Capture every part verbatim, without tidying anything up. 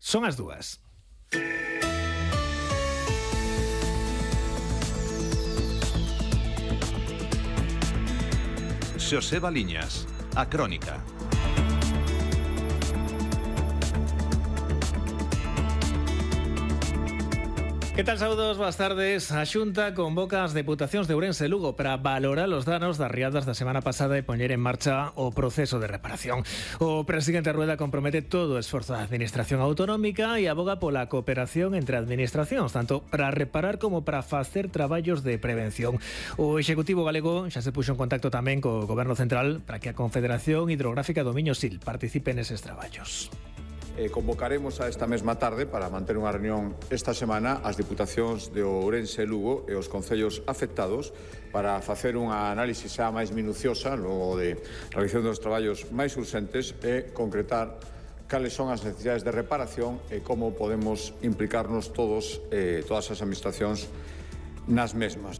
Son as dúas. Xosé Baliñas, a Crónica. Que tal, saúdos, boas tardes. A Xunta convoca as deputacións de Ourense e Lugo para valorar os danos das riadas da semana pasada e poñer en marcha o proceso de reparación. O presidente Rueda compromete todo o esforzo da administración autonómica e aboga pola cooperación entre administracións, tanto para reparar como para facer traballos de prevención. O Executivo galego xa se puxo en contacto tamén co Goberno Central para que a Confederación Hidrográfica do Miño Sil participe neses traballos. Eh, convocaremos a esta mesma tarde para manter unha reunión esta semana as diputacións de Ourense e Lugo e os concellos afectados para facer unha análise xa máis minuciosa logo de realización dos traballos máis urxentes e concretar cales son as necesidades de reparación e como podemos implicarnos todos, eh, todas as administracións nas mesmas.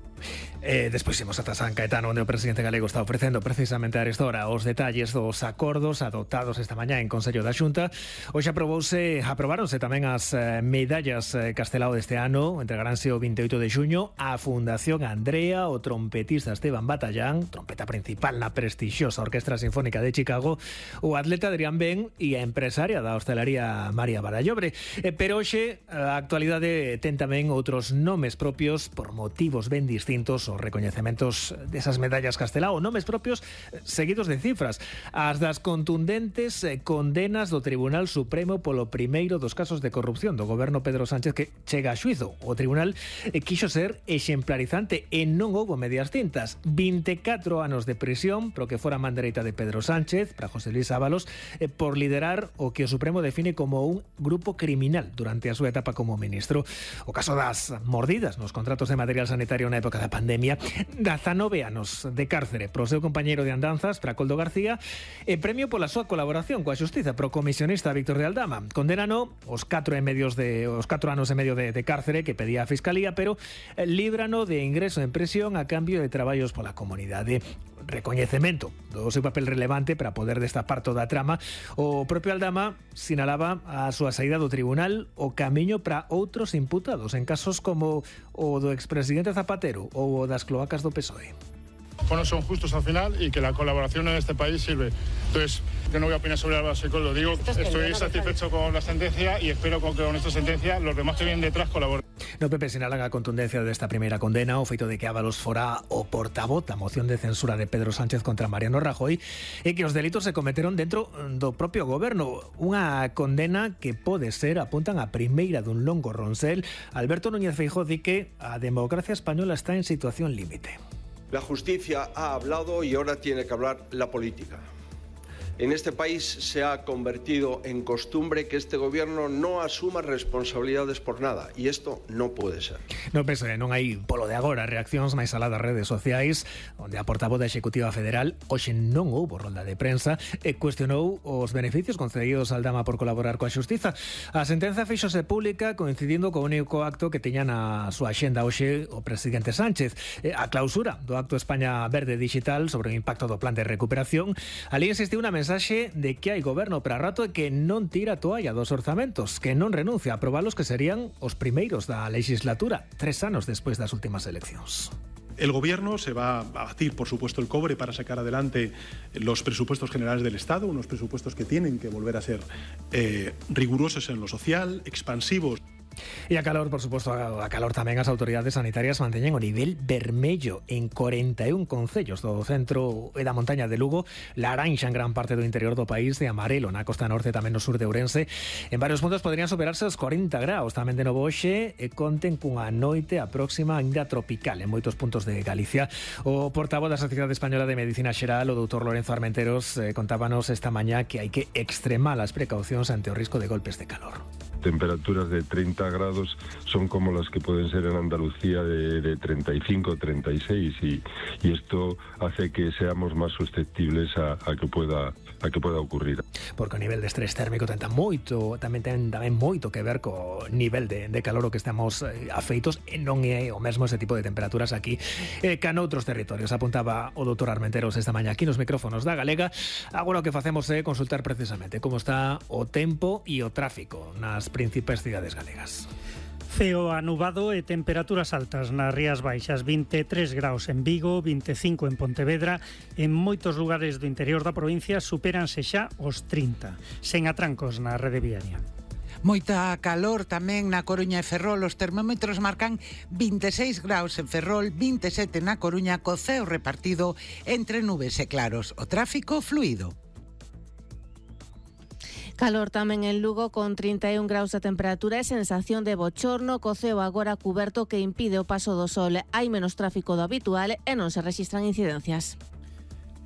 Eh, despois imos ata San Caetano, onde o presidente galego está ofrecendo precisamente a esta hora os detalles dos acordos adoptados esta mañá en Consello da Xunta. Hoxe aprobouse, aprobáronse tamén as eh, medallas eh, Castelao deste ano. Entregaranse o vinte e oito de xuño a Fundación Andrea, o trompetista Esteban Batallán, trompeta principal na prestixiosa Orquestra Sinfónica de Chicago, o atleta Adrián Ben e a empresaria da hostelería María Barallobre. Eh, pero hoxe a actualidade ten tamén outros nomes propios por motivos ben distintos os recoñecementos desas medallas Castelao, nomes propios seguidos de cifras, as das contundentes condenas do Tribunal Supremo polo primeiro dos casos de corrupción do goberno Pedro Sánchez que chega a xuízo. O tribunal quixo ser exemplarizante e non houbo medias tintas. vinte e catro anos de prisión pro que fora man dereita de Pedro Sánchez, para José Luis Ábalos, por liderar o que o Supremo define como un grupo criminal durante a súa etapa como ministro. O caso das mordidas nos contratos de material sanitario na época da pandemia, dezanove anos de cárcere pro seu compañeiro de andanzas, para Coldo García, e premio pola súa colaboración coa xustiza pro comisionista Víctor de Aldama. Condenano os catro e medios de os catro anos e medio de, de cárcere que pedía a Fiscalía, pero líbrano de ingreso en prisión a cambio de traballos pola comunidade. Recoñecemento do seu papel relevante para poder destapar toda a trama. O propio Aldama sinalaba a súa saída do tribunal o camiño para outros imputados en casos como o do expresidente Zapatero ou o das cloacas do P S O E. Bueno, son justos al final y que la colaboración en este país sirve. Entonces, yo no voy a opinar sobre Álvaro Secol, lo digo, estoy satisfecho con la sentencia y espero que con esta sentencia los demás que vienen detrás colaboren. No P P sinalan a contundencia desta primeira condena o feito de que Ábalos fora o portavoz da moción de censura de Pedro Sánchez contra Mariano Rajoy e que os delitos se cometeron dentro do propio goberno. Unha condena que pode ser, apuntan, a primeira dun longo ronsel. Alberto Núñez Feijóo di que a democracia española está en situación límite. La justicia ha hablado y ahora tiene que hablar la política. En este país se ha convertido en costumbre que este gobierno no asuma responsabilidades por nada e isto non pode ser. No P S O E non hai polo de agora reaccións máis alá das redes sociais, onde a portavoz da Executiva Federal hoxe non houbo rolda de prensa e cuestionou os beneficios concedidos a Aldama por colaborar coa xustiza. A sentenza fíxose pública coincidindo co único acto que teña na súa axenda hoxe o presidente Sánchez, a clausura do acto España Verde Digital sobre o impacto do plan de recuperación. Ali insistiu unha mensaxe de que hai goberno para rato e que non tira a toalla dos orzamentos, que non renuncia a aprobalos, que serían os primeiros da legislatura, tres anos despois das últimas eleccións. El gobierno se va a batir, por supuesto, el cobre para sacar adelante los presupuestos generales del Estado, unos presupuestos que tienen que volver a ser eh, rigurosos en lo social, expansivos. E a calor, por suposto, a calor tamén as autoridades sanitarias manteñen o nivel vermello en corenta e un concellos do centro e da montaña de Lugo, laranxa en gran parte do interior do país e amarelo na costa norte, tamén no sur de Ourense. En varios puntos podrían superarse os corenta graus, tamén de novo hoxe, e conten cunha noite a próxima ainda tropical en moitos puntos de Galicia. O portavoz da Sociedade Española de Medicina Xeral, o doutor Lorenzo Armenteros, eh, contábanos esta mañá que hai que extremar as precaucións ante o risco de golpes de calor. Temperaturas de treinta grados son como las que pueden ser en Andalucía de, de treinta y cinco, treinta y seis y, y esto hace que seamos más susceptibles a, a que pueda a que pueda ocurrir. Porque o nivel de estrés térmico tenta moito, tamén ten tamén moito que ver co nivel de, de calor o que estamos eh, afeitos, e non é o mesmo ese tipo de temperaturas aquí eh, que noutros territorios. Apuntaba o doutor Armenteros esta mañá aquí nos micrófonos da Galega. Agora o que facemos é consultar precisamente como está o tempo e o tráfico nas principais cidades galegas. Ceo anubado e temperaturas altas nas Rías Baixas, vinte e tres graus en Vigo, vinte e cinco en Pontevedra. En moitos lugares do interior da provincia supéranse xa os trinta, sen atrancos na rede viaria. Moita calor tamén na Coruña e Ferrol. Os termómetros marcan vinte e seis graus en Ferrol, vinte e sete na Coruña, co ceo repartido entre nubes e claros. O tráfico fluido. Calor tamén en Lugo con trinta e un graus de temperatura e sensación de bochorno, co ceo agora cuberto que impide o paso do sol. Hai menos tráfico do habitual e non se rexistran incidencias.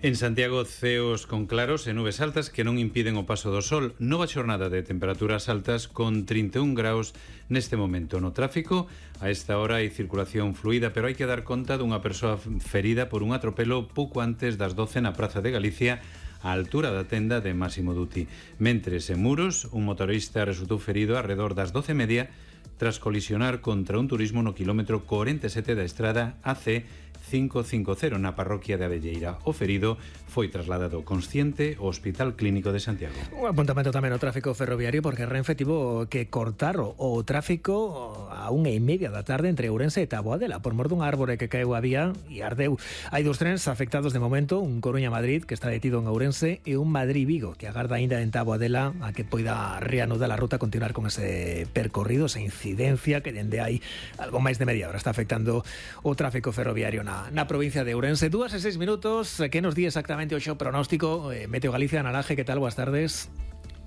En Santiago, ceos con claros e nubes altas que non impiden o paso do sol. Nova xornada de temperaturas altas con trinta e un graus neste momento. No tráfico, a esta hora hai circulación fluida, pero hai que dar conta dunha persoa ferida por un atropelo pouco antes das doce na Praza de Galicia, á altura da tenda de Máximo Dutti. Mentres en Muros, un motorista resultou ferido arredor das doce e media tras colisionar contra un turismo no quilómetro corenta e sete da estrada A C cinco cinco cero na parroquia de Abelleira. O ferido foi trasladado consciente ao Hospital Clínico de Santiago. Un apuntamento tamén ao tráfico ferroviario, porque Renfe tivo que cortar o, o tráfico a unha e media da tarde entre Ourense e Taboadela por mor dun árbore que caeu a vía e ardeu. Hai dous trens afectados de momento, un Coruña-Madrid que está detido en Ourense e un Madrid-Vigo que agarda aínda en Taboadela a que poida reanudar a ruta, continuar con ese percorrido, esa incidencia que dende hai algo máis de media hora está afectando o tráfico ferroviario na na provincia de Ourense. Dúas e seis minutos, que nos di exactamente o xo pronóstico? eh, Meteo Galicia, Nalaje, que tal? Boas tardes.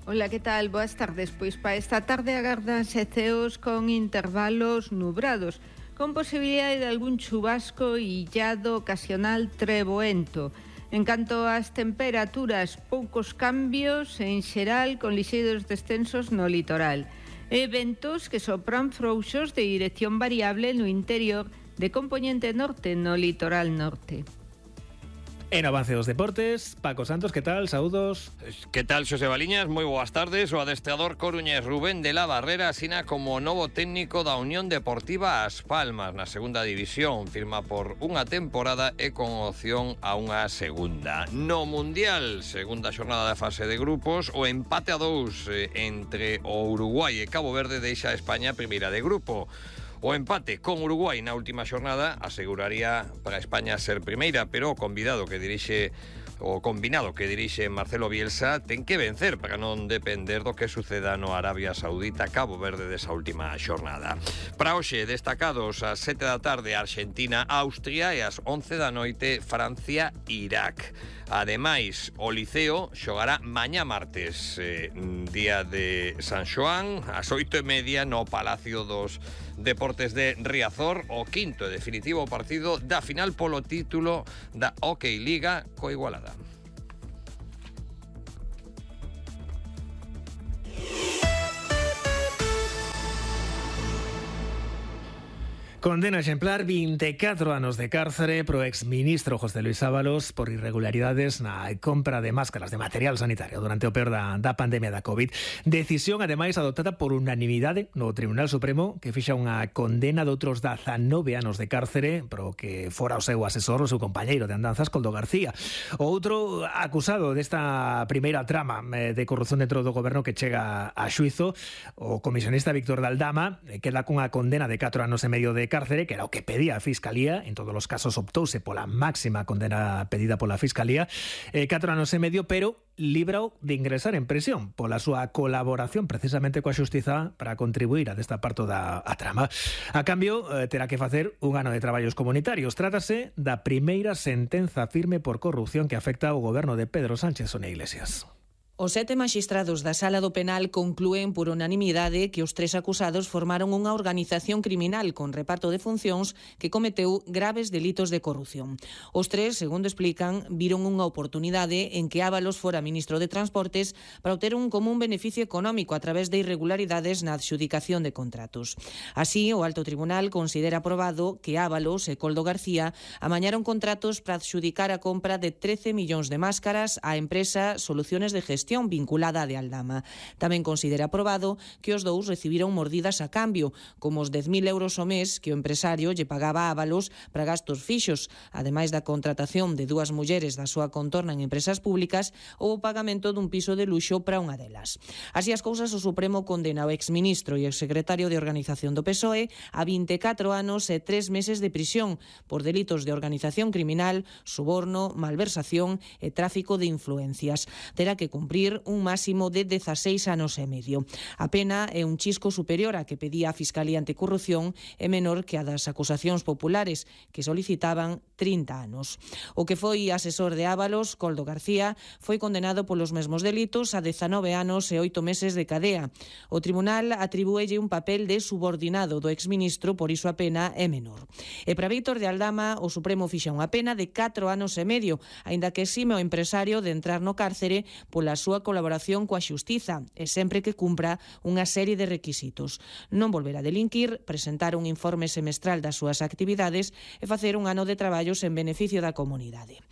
Hola, que tal? Boas tardes. Pois para esta tarde agardanse ceos con intervalos nubrados, con posibilidade de algún chubasco illado ocasional treboento. En canto ás temperaturas, poucos cambios, en xeral con lixeiros descensos no litoral. E ventos que sopran frouxos de dirección variable no interior, de componente norte no litoral norte. En avance dos deportes, Paco Santos, que tal? Saúdos. Que tal, Xosé Baliñas? Moi boas tardes. O adestrador coruñés Rubén de la Barrera asina como novo técnico da Unión Deportiva As Palmas na segunda división. Firma por unha temporada e con opción a unha segunda. No Mundial, segunda xornada da fase de grupos, o empate a dous entre o Uruguai e Cabo Verde deixa a España primeira de grupo. O empate con Uruguai na última xornada aseguraría para España ser primeira, pero o convidado que dirixe o combinado que dirixe Marcelo Bielsa ten que vencer para non depender do que suceda no Arabia Saudita, Cabo Verde desa última xornada. Para hoxe, destacados ás sete da tarde Argentina, Austria e ás once da noite Francia, Irak. Ademais, o Liceo xogará mañá martes, eh, día de San Xoán, ás oito e media no Palacio dos Deportes de Riazor, o quinto e definitivo partido da final polo título da Hockey Liga co Igualada. Condena exemplar, vinte e catro anos de cárcere pro exministro José Luis Ábalos por irregularidades na compra de máscaras de material sanitario durante o peor da, da pandemia da COVID. Decisión, ademais, adoptada por unanimidade no Tribunal Supremo, que fixa unha condena de outros dezanove anos de cárcere pro que fora o seu asesor, o seu compañeiro de andanzas, Coldo García. O outro acusado desta primeira trama de corrupción dentro do goberno que chega a xuizo, o comisionista Víctor Daldama, queda cunha condena de catro anos e medio de cárcere, que era o que pedía a Fiscalía. En todos os casos optouse pola máxima condena pedida pola Fiscalía, eh, catro anos e medio, pero librao de ingresar en prisión pola súa colaboración precisamente coa xustiza para contribuir a desta parte da a trama. A cambio, eh, terá que facer un ano de traballos comunitarios. Trátase da primeira sentenza firme por corrupción que afecta ao goberno de Pedro Sánchez Sonia Iglesias. Os sete maxistrados da Sala do Penal conclúen por unanimidade que os tres acusados formaron unha organización criminal con reparto de funcións que cometeu graves delitos de corrupción. Os tres, segundo explican, viron unha oportunidade en que Ábalos fora ministro de Transportes para obter un común beneficio económico a través de irregularidades na adxudicación de contratos. Así, o Alto Tribunal considera aprobado que Ábalos e Koldo García amañaron contratos para adxudicar a compra de trece millóns de máscaras á empresa Soluciones de Gestión vinculada a de Aldama. Tamén considera aprobado que os dous recibiron mordidas a cambio, como os dez mil euros ao mes que o empresario lle pagaba a Ábalos para gastos fixos, ademais da contratación de dúas mulleres da súa contorna en empresas públicas ou o pagamento dun piso de luxo para unha delas. Así as cousas, o Supremo condena ao exministro e exsecretario de Organización do P S O E a vinte e catro anos e tres meses de prisión por delitos de organización criminal, suborno, malversación e tráfico de influencias. Terá que cumprir un máximo de dezaseis anos e medio. A pena é un chisco superior a que pedía a Fiscalía Anticorrupción e menor que a das acusacións populares, que solicitaban trinta anos. O que foi asesor de Ábalos, Koldo García, foi condenado polos mesmos delitos a dezanove anos e oito meses de cadea. O tribunal atribúelle un papel de subordinado do exministro, por iso a pena é menor. E para Víctor de Aldama, o Supremo fixa unha pena de catro anos e medio, aínda que exime o empresario de entrar no cárcere pola súa colaboración coa xustiza e sempre que cumpra unha serie de requisitos. Non volver a delinquir, presentar un informe semestral das súas actividades e facer un ano de traballos en beneficio da comunidade.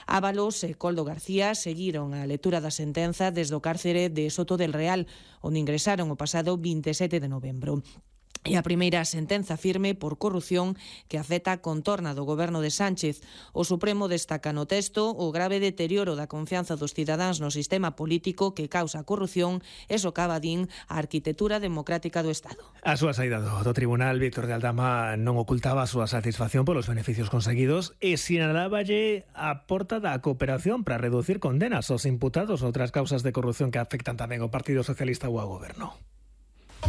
Ábalos e Koldo García seguiron a lectura da sentenza desde o cárcere de Soto del Real, onde ingresaron o pasado vinte e sete de novembro. E a primeira sentenza firme por corrupción que afecta a contorna do goberno de Sánchez. O Supremo destaca no texto o grave deterioro da confianza dos cidadáns no sistema político que causa a corrupción e socava, din, a arquitectura democrática do Estado. A súa saída do, do tribunal, Víctor de Aldama non ocultaba a súa satisfacción polos beneficios conseguidos e sinaláballe a porta da cooperación para reducir condenas aos imputados outras causas de corrupción que afectan tamén ao Partido Socialista ou ao goberno.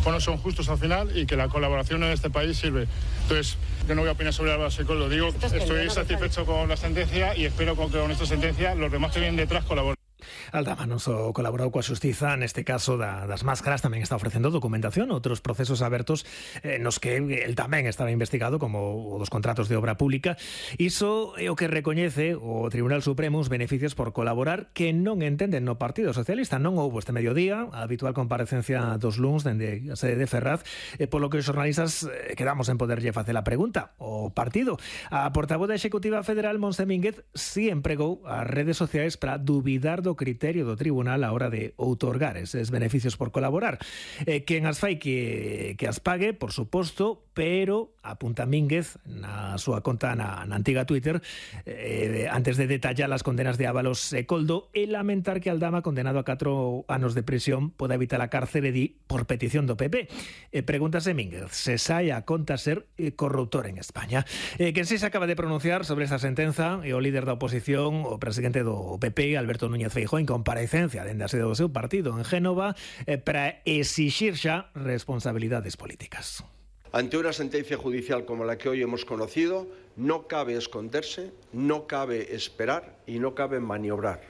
Bueno, son justos al final y que la colaboración en este país sirve. Entonces, yo no voy a opinar sobre Álvaro Secol, lo digo, estoy satisfecho con la sentencia y espero que con esta sentencia los demás que vienen detrás colaboren. Aldama non só colaborou coa xustiza, neste caso da, das máscaras, tamén está ofrecendo documentación, outros procesos abertos eh, nos que el tamén estaba investigado, como o dos contratos de obra pública. Iso é o que recoñece o Tribunal Supremo os beneficios por colaborar que non entenden no Partido Socialista. Non houbo este mediodía a habitual comparecencia dos luns dende a sede de Ferraz, eh, polo que os xornalistas eh, quedamos en poderlle facer a pregunta. O partido, a portavoz da Executiva Federal, Montse Mínguez, si empregou as redes sociais para duvidar do criterio do tribunal a hora de outorgar eses beneficios por colaborar. Eh, quen as fai que, que as pague, por suposto, pero apunta Mínguez na súa conta na, na antiga Twitter, eh, antes de detallar as condenas de Ábalos e Koldo, e lamentar que Aldama, condenado a catro anos de prisión, poda evitar a cárcere di por petición do P P. Eh, pregúntase Mínguez se sai a conta ser eh, corruptor en España. Eh, quen si se acaba de pronunciar sobre esta sentenza e o líder da oposición, o presidente do P P, Alberto Núñez Feijóo, en comparecencia dende a sede do seu partido en Génova eh, para exixir xa responsabilidades políticas. Ante una sentencia judicial como la que hoy hemos conocido, no cabe esconderse, no cabe esperar y no cabe maniobrar.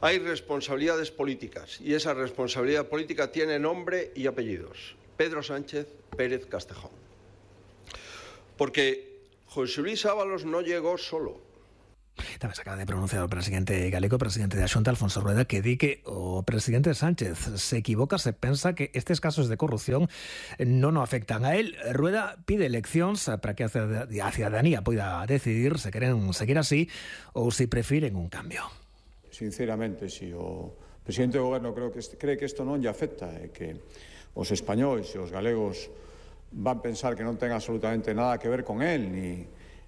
Hay responsabilidades políticas y esa responsabilidad política tiene nombre y apellidos. Pedro Sánchez Pérez Castejón. Porque José Luis Ábalos no llegó solo. Tamén se acaba de pronunciar o presidente galego, presidente da Xunta, Alfonso Rueda, que di que o presidente Sánchez se equivoca se pensa que estes casos de corrupción non o afectan a él. Rueda pide eleccións para que a cidadanía poida decidir se queren seguir así ou se prefiren un cambio. Sinceramente, si o presidente do goberno creo que cree que isto non lle afecta e que os españois e os galegos van pensar que non ten absolutamente nada que ver con él, ni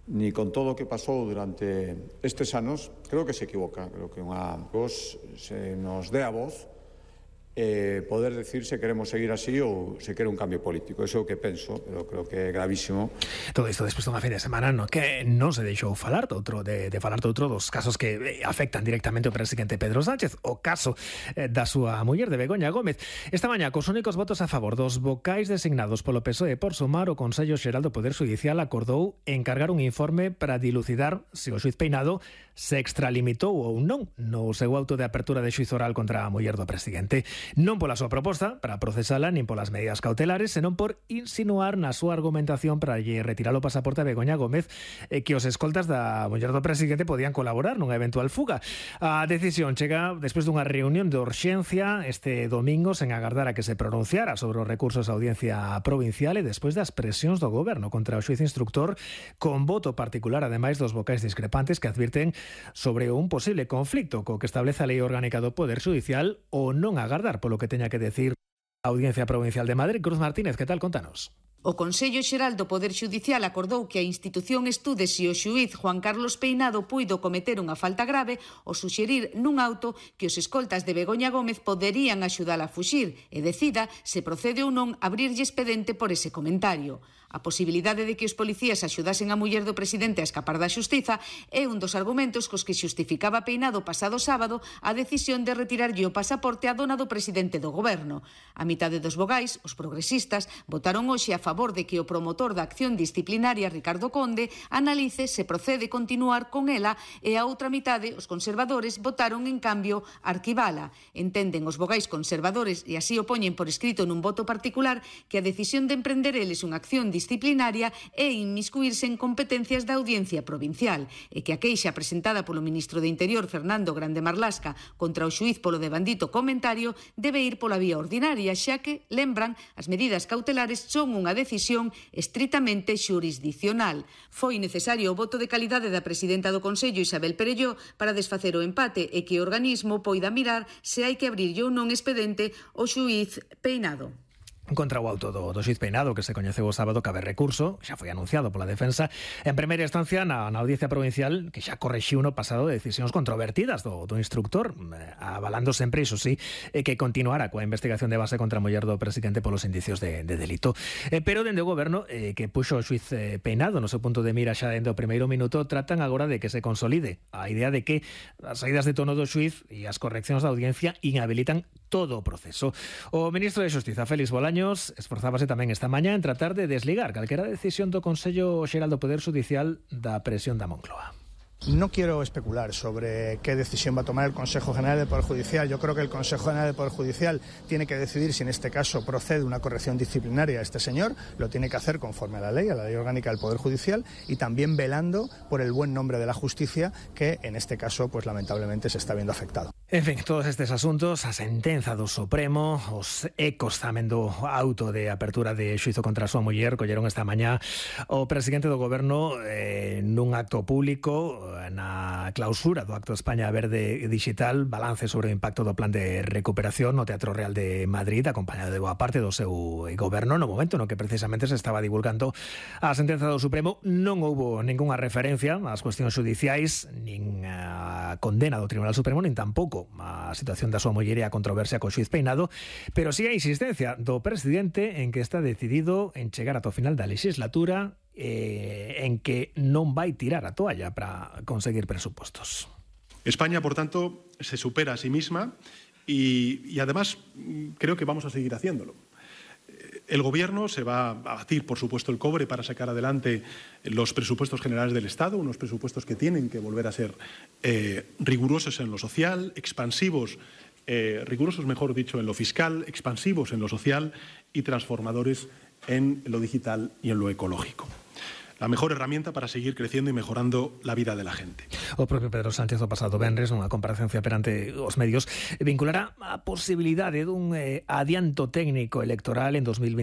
ni con todo o que pasou durante estes anos, creo que se equivoca. Creo que unha voz se nos dé a voz eh, poder decir se queremos seguir así ou se quere un cambio político. Eso é o que penso, pero creo que é gravísimo. Todo isto despois dunha fin de semana no que non se deixou falar de outro de, de falar de outro dos casos que afectan directamente ao presidente Pedro Sánchez, o caso eh, da súa muller de Begoña Gómez. Esta mañá, cos únicos votos a favor dos vocais designados polo P S O E por sumar, o Consello Xeral do Poder Xudicial acordou encargar un informe para dilucidar se o xuiz Peinado se extralimitou ou non no seu auto de apertura de xuízo oral contra a muller do presidente. Non pola súa proposta para procesala nin polas medidas cautelares, senón por insinuar na súa argumentación para lle retirar o pasaporte a Begoña Gómez eh, que os escoltas da muller do presidente podían colaborar nunha eventual fuga. A decisión chega despois dunha reunión de urxencia este domingo sen agardar a que se pronunciara sobre os recursos á audiencia provincial e despois das presións do goberno contra o xuiz instructor, con voto particular ademais dos vocais discrepantes que advirten sobre un posible conflicto co que establece a Lei Orgánica do Poder Xudicial ou non agardar polo que teña que decir a Audiencia Provincial de Madrid. Cruz Martínez, que tal? Contanos. O Consello Xeral do Poder Xudicial acordou que a institución estude se o xuíz Juan Carlos Peinado puido cometer unha falta grave ao suxerir nun auto que os escoltas de Begoña Gómez poderían axudala a fuxir e decida se procede ou non abrirlle expedente por ese comentario. A posibilidade de que os policías axudasen a muller do presidente a escapar da xustiza é un dos argumentos cos que xustificaba Peinado pasado sábado a decisión de retirarlle o pasaporte á dona do presidente do goberno. A mitade dos vogais, os progresistas, votaron hoxe a favor de que o promotor da acción disciplinaria Ricardo Conde analice se procede continuar con ela e a outra mitade, os conservadores, votaron en cambio arquibala. Entenden os vogais conservadores e así o poñen por escrito nun voto particular que a decisión de emprender eles unha acción disciplinaria é inmiscuirse en competencias da Audiencia Provincial e que a queixa presentada polo ministro de Interior Fernando Grande Marlasca contra o xuíz polo devandito comentario debe ir pola vía ordinaria, xa que, lembran, as medidas cautelares son unha decisión estritamente xurisdicional. Foi necesario o voto de calidade da presidenta do Consello, Isabel Perelló, para desfacer o empate e que o organismo poida mirar se hai que abrirlle ou non expedente o xuíz Peinado. Contra o auto do, do xuiz Peinado, que se coñeceu o sábado, cabe recurso, xa foi anunciado pola defensa en primeira instancia na, na Audiencia Provincial, que xa correxiu no pasado de decisións controvertidas do, do instructor, eh, avalando sempre, iso sí, eh, que continuara coa investigación de base contra a muller do presidente polos indicios de, de delito. Eh, pero dende o goberno, eh, que puxo o xuiz eh, Peinado no seu punto de mira xa dende o primeiro minuto, tratan agora de que se consolide a idea de que as saídas de tono do xuiz e as correccións da audiencia inhabilitan todo o proceso. O ministro de Xustiza, Félix Bolaños, esforzábase tamén esta mañá en tratar de desligar calquera decisión do Consello Xeral do Poder Xudicial da presión da Moncloa. No quiero especular sobre qué decisión va a tomar el Consejo General del Poder Judicial. Yo creo que el Consejo General del Poder Judicial tiene que decidir si en este caso procede una corrección disciplinaria a este señor. Lo tiene que hacer conforme a la ley, a la ley orgánica del Poder Judicial, y también velando por el buen nombre de la justicia, que en este caso, pues lamentablemente, se está viendo afectado. En fin, todos estes asuntos, a sentenza do Supremo, os ecos tamén do auto de apertura de xuízo contra a súa muller, colleron esta mañá o presidente do goberno eh, nun acto público na clausura do acto España Verde Digital, balance sobre o impacto do plan de recuperación no Teatro Real de Madrid, acompañado de boa parte do seu goberno, no momento no que precisamente se estaba divulgando a sentenza do Supremo. Non houbo ningunha referencia ás cuestións judiciais, nin a condena do Tribunal Supremo, nin tampouco a situación da súa muller e a controversia co xuiz Peinado, pero sí a insistencia do presidente en que está decidido en chegar ata o final da legislatura, eh, en que non vai tirar a toalla para conseguir presupostos. España, por tanto, se supera a sí misma y, y además creo que vamos a seguir haciéndolo. El Gobierno se va a batir, por supuesto, el cobre para sacar adelante los presupuestos generales del Estado, unos presupuestos que tienen que volver a ser eh, rigurosos en lo social, expansivos, eh, rigurosos, mejor dicho, en lo fiscal, expansivos en lo social y transformadores en lo digital y en lo ecológico. La mejor herramienta para seguir creciendo y mejorando la vida de la gente. O propio Pedro Sánchez o pasado venres nunha comparecencia perante os medios vinculará a posibilidade dun eh, adianto técnico electoral en dos mil vinte.